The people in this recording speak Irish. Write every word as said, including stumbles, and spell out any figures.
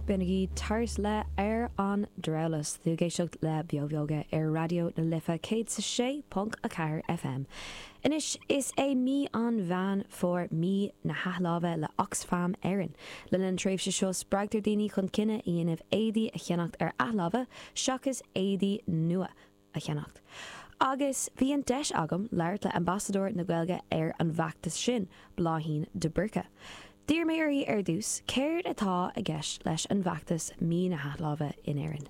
B'in Tart le ar an Drabhlás tú ag éisteacht le Beo Bheoga ar Raidió na Life céad sa sé ponc a ceathair FM. Anois is é mí an Mheán Fómhair mí na hathláimhe le Oxfam Éireann. Le an tréimhse seo spreagtar daoine chun cinneadh a dhéanamh éadaí a cheannacht ar athláimh seachas éadaí nua a cheannacht. Agus bhí an deis agam labhairt le ambasadóir na Gaeilge ar an bhfeachtas sin Bláithín de Búrca. D'iarr mé uirthi ar dtús céard atá i gceist leis an bhfeachtas mí na hathláimhe in Éirinn.